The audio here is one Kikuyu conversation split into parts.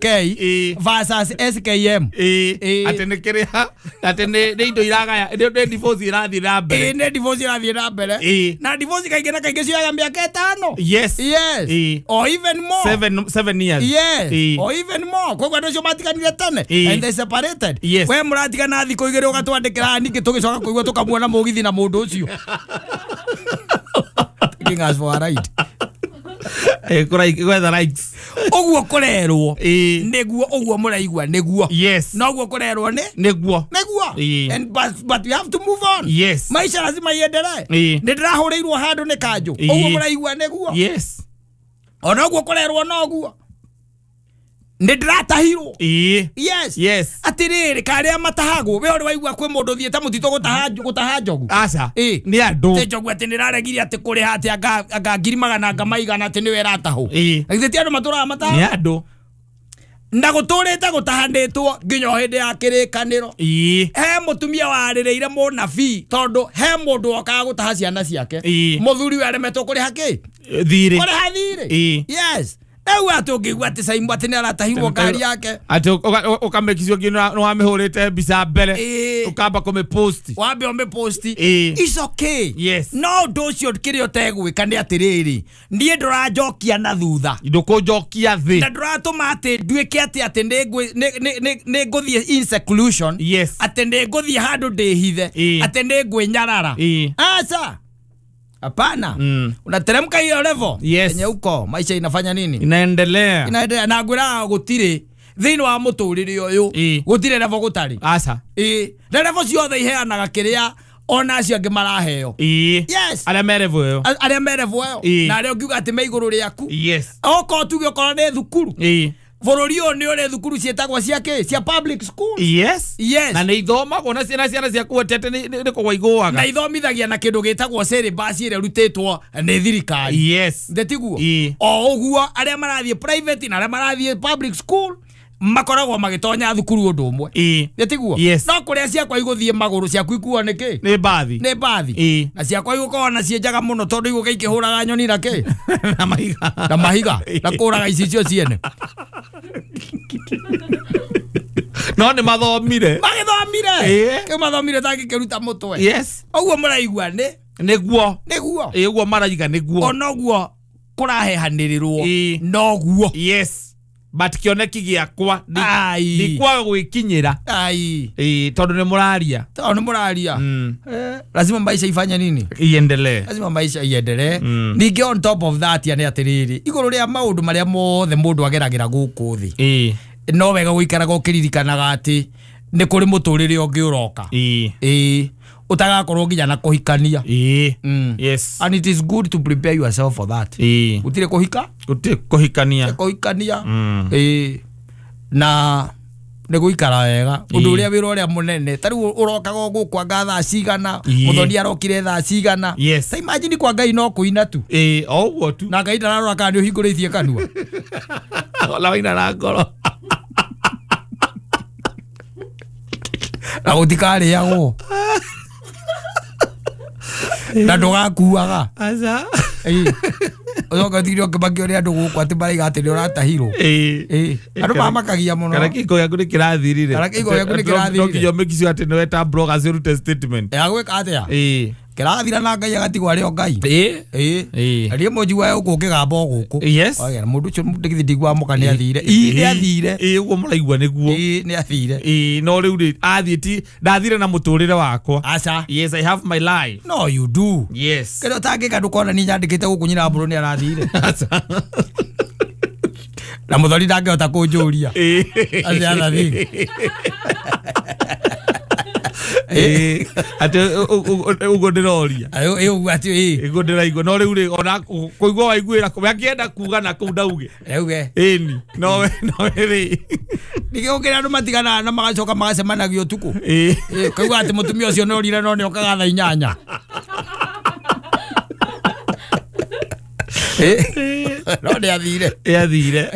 K versus SKM. Atĩ nĩ kĩrĩa atĩ nĩ indo iragaya nĩ divorce irathiĩ na mbere. Nĩ divorce irathiĩ na mbere. Na divorce kaingĩ na kaingĩ cioyaga mĩaka 5. Yes. Yes. Or even more. 7 years. Yes. Or even more. Koguo andũ acio matiganire tene and they separated. Yes. We mũratigana thikũ 2 ũgatwandĩkĩra ningĩ tũgĩcoka kũigua tũkamuona mũgithi na mũndũ ũcio. Taking us for a ride. Gwetha likes. Ũguo kũrerwo nĩguo ũguo mũraigua nĩguo. Yes. No ũguo kũrerwo nĩ nĩguo. Nĩguo. And but we have to move on. Yes. Maisha lazima iendelee. Nĩ ndĩrahũrĩirwo handũ nĩ kanjũ. Ũguo mũraigua nĩguo. Yes. Ona ũguo kũrerwo noguo. Nĩ ndĩratahirwo. Yes. Yes. Atĩrĩrĩ karĩa matahagwo we ũrĩ waigua kwĩ mũndũ ũthiĩte mũtitũ gũtaha njogu. Aca. Nĩ andũ. Tĩ njogu atĩ nĩraregire atĩ kũrĩha atĩ anga 100,000 anga maigana atĩ nĩwe ĩratahwo. Na githĩ ti andũ matũraga mataha? Nĩ andũ. Na gũtũrĩte gũtahanĩtwo nginya o hĩndĩ ya kĩrĩkanĩro. He mũtumia warĩrĩire mũnabii tondũ he mũndũ wokaga gũtaha ciana ciake. Mũthuri we aremetwo kũrĩha kĩ? Thirĩ. Kũrĩha thirĩ. Yes. Rĩu atĩ ũngĩigua atĩ Saimbo atĩ nĩaratahirwo ngari yake. Atĩ ũkamĩkicio nginya nĩwamĩhũrĩte mbica mbere. Ũkamba kũmĩpost. Wambe ũmĩpost. It's okay. Yes. No ũndũ ũcio kĩrĩa ũtegwĩka nĩ atĩrĩrĩ, niĩ ndũranjokia na thutha. Ndũkũnjokia thĩ. Na ndũratũma atĩ nduĩke atĩ atĩ nĩ ngũthiĩ in seclusion. Yes. Atĩ nĩ ngũthiĩ handũ ndĩhithe. Atĩ nĩ ngwĩnyarara. Aca. Hapana. Unateremka hiyo level. Yes. Yenye uko maisha inafanya nini? Inaendelea. Inaendelea na ngwira gutire thĩinĩ wa mũtũrĩre ũyũ. Gutire level gũtarĩ. Aca. Na level ciothe iheanaga kĩrĩa ona acio angĩ maraheo. Yes. Arĩa me level ĩyo. Arĩa me level ĩyo. Na arĩa ũngiuga atĩ me igũrũ rĩaku. Yes. Okorwo tuge okorwo nĩ thukuru. Bũrũri ũyũ nĩ ũrĩ thukuru ciĩtagwo cia kĩ? Cia public school. Yes. Yes. Na nĩ ithomagwo na ciana ciaku atete nĩ kũgwa igũaga. Na ithomithagia na kĩndũ gĩtagwo syllabus ĩrĩa ĩrutĩtwo nĩ thirikari. Yes. Ndĩtiguo? O ũguo arĩa marathiĩ private na arĩa marathiĩ public school makoragwo magĩtonya thukuru ũndũ ũmwe. Ndĩtiguo? Yes. No kũrĩa ciakwa igũthiĩ magũrũ ciaku ikuo nĩ kĩ? Nĩ mbathi. Nĩ mbathi. Na ciakwa igũkorwo na ciĩ njega mũno tondũ igũka ikĩhũraga nyoni na kĩ? Na mahiga. Na mahiga. Na kũraga icicio ciene. No nĩ mathomire. Magĩthomire. Kĩu mathomire tangĩkĩruta mũtwe. Yes. Ũguo mũraigua nĩ? Nĩguo. Nĩguo. Ũguo maraiga nĩguo. Onoguo kũrahehanĩrĩrwo noguo. Yes. But kĩoneki gĩakwa ndikwaga gwĩkinyĩra. Tondũ nĩ mũraria. Tondũ nĩ mũraria. Lazima maisha ifanye nini? Iendelee. Lazima maisha iendelee. Ningĩ on top of that nĩ atĩrĩrĩ, igũrũ rĩa maũndũ marĩa mothe mũndũ ageragĩra gũkũ thĩ. No wega gũikaraga ũkĩririkanaga atĩ nĩ kũrĩ mũtũrĩre ũngĩ ũroka. Ũtagakorwo nginya na kũhikania. Yes. And it is good to prepare yourself for that. Gũtirĩ kũhika? Gũtirĩ kũhikania. Kũhikania. Na nĩ gũikara wega. Ũndũ ũrĩa wĩra ũrĩa mũnene. Ta rĩu ũrokaga gũkũ anga thaa cigana, mũthoni arokire thaa cigana. Yes. Ta imagine kwa Ngai no kũina tu. O ũguo tu. Na Ngai ndararora kana nĩ ũhingũrĩtie kanua. Ona waina na ngoro. Na gũtikarĩagwo. Na ndũgakuaga. Aca. Ũcoke ũtigire ũkĩmakio nĩ andũ gũkũ atĩ maraiga atĩ nĩ ũratahirwo. Andũ mamakagia mũno. Kana kĩhiko gĩaku nĩ kĩrathirire. Kana kĩhiko gĩaku nĩ kĩrathirire. No nginya ũmĩkicio atĩ nĩ weta bloggers ũrute statement. Agwĩka atĩa? Kĩrathira na Ngai agatigwo arĩ o Ngai. Na niĩ mũnjiguaga gũkũ ngĩgamba o gũkũ. Yes. Mũndũ ũcio githĩ ndiguaga mũka nĩ athire. Nĩ athire. Ũguo mũraigua nĩguo. Nĩ athire. No rĩu rĩ athiĩ ti ndathire na mũtũrĩre wakwa. Aca. Yes, I have my life. No you do. Yes. Kĩrĩa ũtangĩka ndũkona niĩ nyandĩkĩte gũkũ nyina mbũrũ nĩ arathire. Aca. Na mũthoni ndangĩhota kũnjũria. That's the other thing. Atĩ ũguo ndĩroria. Ũguo atĩ Ũguo ndĩraigua. No rĩu rĩ ona kũigua waiguĩra we akĩenda kuga na kũu ndauge. Auge. Ĩni. No rĩ. Ningĩ gũkĩra andũ matiganaga na magacoka magacemanagia ũtukũ. Kaigua atĩ mũtumia ũcio nĩ orire no nĩ okaga thaa 8. No nĩ athire. Yathire.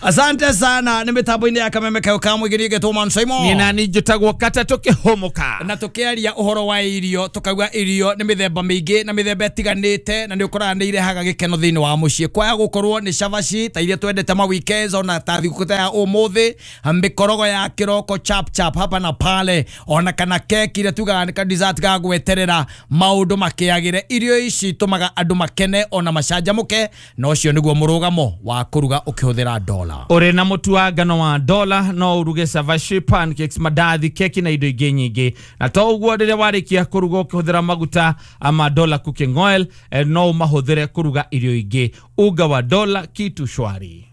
Asante sana nĩ mĩtambo-inĩ ya kameme kayo ka mũingĩ ngetwo Man Simon. Niĩ nani njĩtagwo Kata tũkĩhũmũka. Na tũkĩaria ũhoro wa irio tũkauga irio nĩ mĩthemba mĩingĩ na mĩthemba ĩtiganĩte na nĩ ũkoraga nĩ irehaga gĩkeno thĩinĩ wa mũciĩ. Kwaya gũkorwo nĩ cabaci ta iria twendete ma weekends ona ta thigũkũ ta ya ũmũthĩ, mĩkorogo ya kĩroko chap chap hapa na pale, ona kana keki iria tugaga nĩ ka dessert ga gweterera maũndũ makĩagĩre. Irio ici itũmaga andũ makene ona macanjamũke, na ũcio nĩguo mũrũgamo wa kũruga ũkĩhũthĩra dola. Ũrĩ na mũtu wa ngano wa dola no ũruge cabaci, pancakes, mandathi, keki na indo ingĩ nyingĩ. Na to ũguo rĩrĩa warĩkia kũruga ũkĩhũthĩra maguta ma Dola cooking oil, no ũmahũthĩre kũruga irio ingĩ. Unga wa Dola, kitu shwari.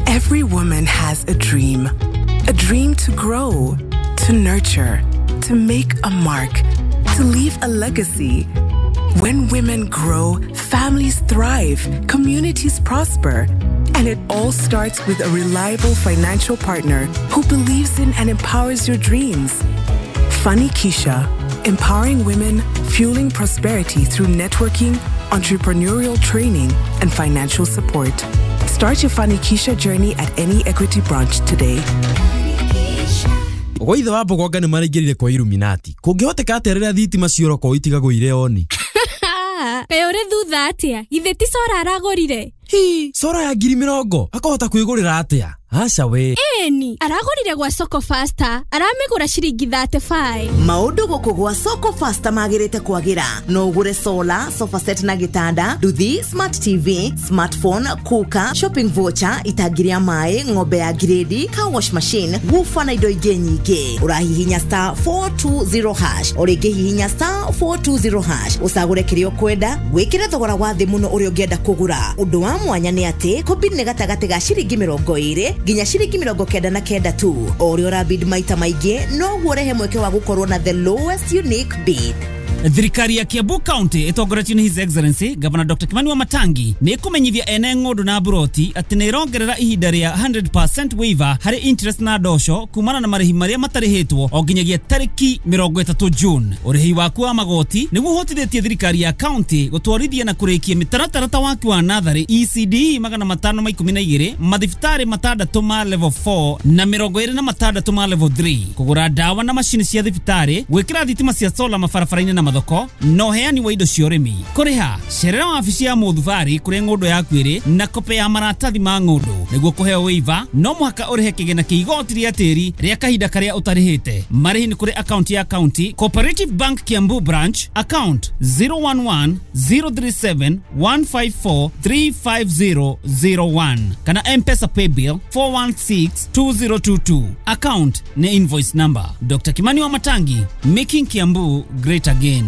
Every woman has a dream. A dream to grow, to nurture, to make a mark, to leave a legacy. When women grow, families thrive, communities prosper. And it all starts with a reliable financial partner who believes in and empowers your dreams. Fanikisha, empowering women, fueling prosperity through networking, entrepreneurial training, and financial support. Start your Fanikisha journey at any Equity branch today. Gwa ithe wa Mbogonga nĩ maraingĩrire kwa Illuminati. Kũngĩhoteka atĩa rĩrĩa thitima cioroko itigagwo irĩ oni? Kaĩ ũrĩ thutha atĩa? Githĩ ti cora aragũrire? Hi, cora ya 20,000 akahota kwĩgũrĩra atĩa? Aca we. Ĩni, aragũrire gwa Soko Faster, aramĩgũra ciringi 35. Maũndũ gũkũ gwa Soko Faster magĩrĩte kwagĩra. No ũgũre solar, sofa set na gĩtanda, nduthi, smart TV, smartphone, cooker, shopping voucher, itangi rĩa maĩ, ng'ombe ya grade, car wash machine, woofer na indo ingĩ nyingĩ. Ũrahihinya star 420 hash, o rĩngĩ hihinya star 420 hash, ũcagũre kĩrĩa ũkwenda, wĩkĩre thogora wa thĩ mũno ũrĩa ũngĩenda kũgũra. Ũndũ wa mwanya nĩ atĩ kũbid nĩ gatagatĩ ga ciringi 20 nginya ciringi 99 tu. O ũrĩa ũrabid maita maingĩ noguo ũrehe mweke wa gũkorwo na the lowest unique bid. Thirikari ya Kiambu County ĩtongoretio nĩ His Excellency Governor Dr. Kimani Wamatangi nĩ ĩkũmenyithia ene ng'ũndũ na mburoti atĩ nĩ ĩrongerera ihinda rĩa 100% waiver harĩ interest na ndosho kumana na marĩhi marĩa matarĩhĩtwo o nginyagia tarĩki 30 June. Ũrĩhi waku wa magoti nĩguo ũhotithĩtie thirikari ya county gũtwarithia na kũrĩkia mĩtaratara ta waki wa natharĩ ECD 512, mathibitarĩ 6 ma level 4 na 26 ma level 3, kũgũra ndawa na macini cia thibitarĩ, gwĩkĩra thitima cia solar mabarabara-inĩ na mathoko, na ũheani wa indo cia ũrĩmi. Kũrĩha cerera wabici ya mũthubarĩ kũrĩa ng'ũndũ yaku ĩrĩ na kope ya maratathi ma ng'ũndũ. Nĩguo kũheo waiver no mũhaka ũrĩhe kĩgĩna kĩa igoti rĩa tĩri rĩa kahinda karĩa ũtarĩhĩte. Marĩhi nĩ kũrĩ akaunti ya county Cooperative Bank Kiambu branch, account 011 037 154 35001 kana M-Pesa paybill 416 2022. Account ni invoice number. Dr. Kimani Wamatangi, making Kiambu great again.